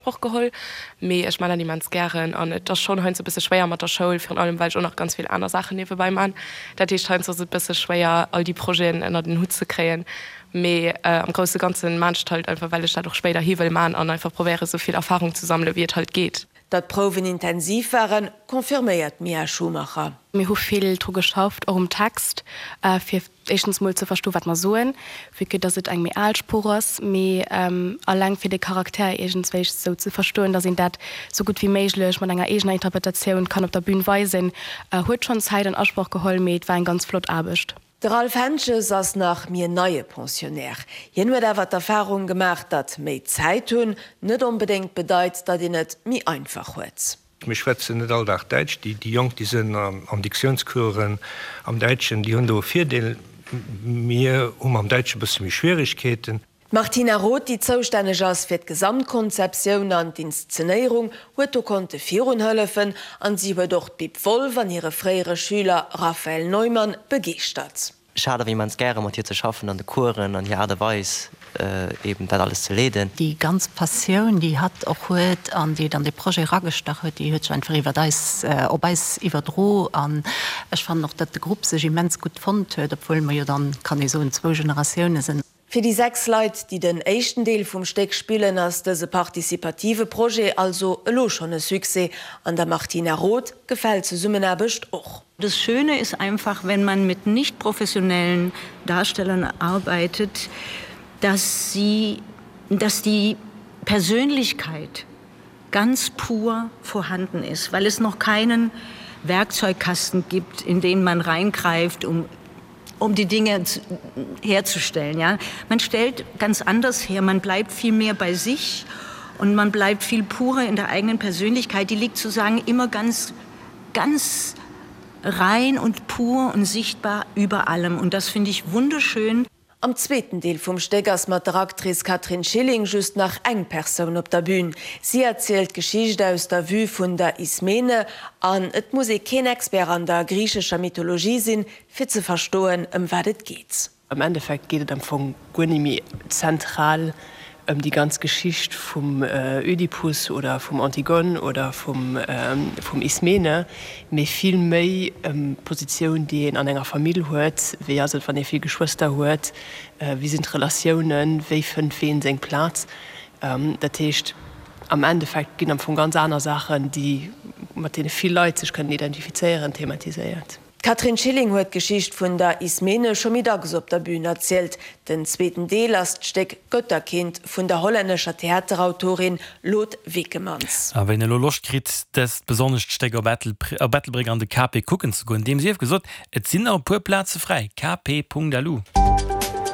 Usproch geholl, mee ech man dat immens gären an et ass schonn heiansdo e bësse schwéier mat der Schoul, virun allem well ech och nach ganz vill aner Saachen niewebäi man. Dat heescht heiansdo ass et bësse schwéier all déi Projeten ënnert en Hutt ze kréien, mee am grousse Ganzen man ech et halt einfach well ech dat och spéiderhi wëll man an einfach probéiere sou vill Erfahrung ze sammele wéi et halt geet. Datt d'Prouwen intensiv waren, confirméiert d'Mia Schumacher. Mir hu vill dru geschafft, och um Text, fir éischtens mol ze verstoen, wat mer soen, vue que dass et eng méi al Sprooch ass, mee alleng fir de Charakter iergendswéi sou ze verstoen, dass een dat sou gutt wéi méiglech mat enger eegener Interpretatioun kann op der Bühn weisen, huet schonn Zäit an Asproch geholl, mee et war eng ganz flott Aarbecht. De Ralph Hentges ass nach méi en neie Pensionnaire. Hien huet awer d'Erfarung gemaach, datt méi Zäit hunn net onbedéngt bedeit, datt een et méi einfach huet. Mir schwätzen net all Dag Däitsch. Déi Jonk, déi sinn an Diktiounscoursen am Däitschen, déi hunn do e Virdeel. Mir hu mam Däitsche e bësse méi Schwierigkeeten. D'Martina Roth, déi zoustänneg ass fir d'Gesamtkonzeptioun an d'Inszenéierung, huet do konnte virun hëllefen an si huet och d'Bib Wolf an hire fréiere Schüler Raphael Neumann begeeschtert. Ech hat awer immens gäre mat hir ze schaffen an de Coursen an hir Aart a Weis eben dat alles ze leeden. Déi ganz Passioun, déi hatt och huet an déi et an dee Projet eragestach huet, déi huet sech einfach iwwert eis, op eis iwwerdro. An ech fannen och, datt de Grupp sech immens gutt fonnt huet, obwuel mer jo dann, kann ee soen, zwou Generatioune sinn. Fir déi 6 Leit, déi den éischten Deel vum Stéck spillen, ass dëse participative Projet also elo schonn e Succès. An der Martina Roth gefält d'Zesummenaarbecht och. Das Schöne ist einfach, wenn man mit nicht professionellen Darstellern arbeitet, dass sie, dass die Persönlichkeit ganz pur vorhanden ist, weil es noch keinen Werkzeugkasten gibt, in den man reingreift, um um die Dinge herzustellen. Ja? Man stellt ganz anders her, man bleibt viel mehr bei sich und man bleibt viel purer in der eigenen Persönlichkeit. Die liegt sozusagen immer ganz, ganz rein und pur und sichtbar über allem. Und das finde ich wunderschön. Am zweeten Deel vum Stéck ass mat der Actrice Catherine Schilling just nach eng Persoun op der Bün. Si erzielt d'Geschicht aus der Vue vun der Ismene an et muss ee keen Expert an der griichescher Mythologie sinn, fir ze verstoen, ëm wat et geet. Am Endeffekt geet et am Fong guer ni méi zentral ëm déi ganz Geschicht vum Ödipus oder vum Antigone oder vum Ismene, mee vill méi ëm d'Positioun, déi een an enger Famill huet, wéi ass et, wann ee vill Geschwëster huet, wéi sinn d'Relatiounen, wéi fënnt ween seng Plaz. Dat heescht, am Endeffekt ginn am Fong ganz aner Saachen, déi, mat deene vill Leit sech kënnen identifizéieren, thematiséiert. D'Catherine Schilling huet d'Geschicht vun der Ismene scho méi dacks op der Bühn erzielt. Den zweeten Deel ass d'Stéck Götterkind vun der hollännescher Theaterautorin Lot Vekemans. A ween elo Loscht kritt, dëst besonnescht Stéck op Ettelbréck an de KP kucken ze goen, deem sief gesot, et sinn nach e puer Plaze fräi, kp.lu.